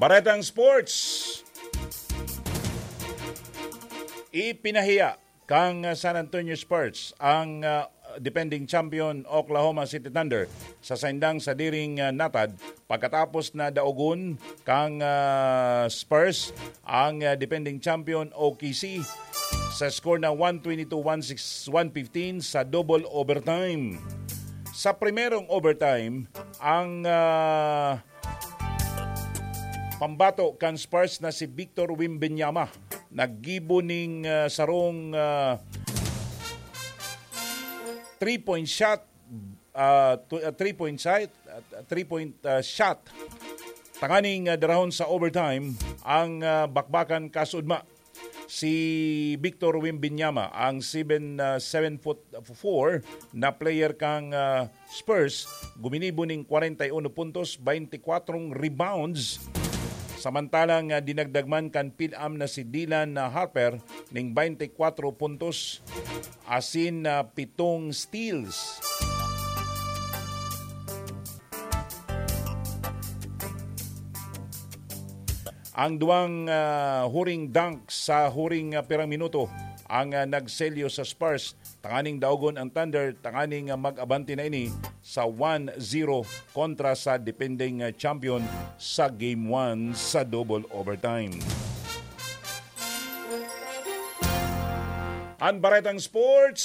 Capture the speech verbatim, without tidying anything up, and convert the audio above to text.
Baretang Sports. Ipinahiya kan San Antonio Spurs ang ah, defending champion Oklahoma City Thunder sa saindang sadiring ah, natad pagkatapos na daogon kan ah, Spurs ang ah, defending champion O K C sa score na one twenty-two one six, one fifteen sa double overtime. Sa primerong overtime, ang ah, pambato kan Spurs na si Victor Wembanyama naggibo ning ah, sarong ah, three-point shot, ah, tu- ah, three-point shot, ah, three-point ah, shot. Tanganing ah, darahon sa overtime ang ah, bakbakan kasudma. Si Victor Wembanyama, ang seven, ah, seven foot four na player kang ah, Spurs, guminibo ning kwarenta y uno puntos, baynte kwatro rebounds. Samantalang ah, dinagdag man kan pil-am na si Dylan ah, Harper ning baynte kwatro puntos asin ah, pitong steals. Ang duwang ah, huring dunk sa huring ah, pirang minuto ang ah, nagselyo sa Spurs tanganing daogon ang Thunder tanganing ah, mag-abante na ini sa one zero kontra sa defending ah, champion sa Game one sa double overtime. Ang Baretang Sports,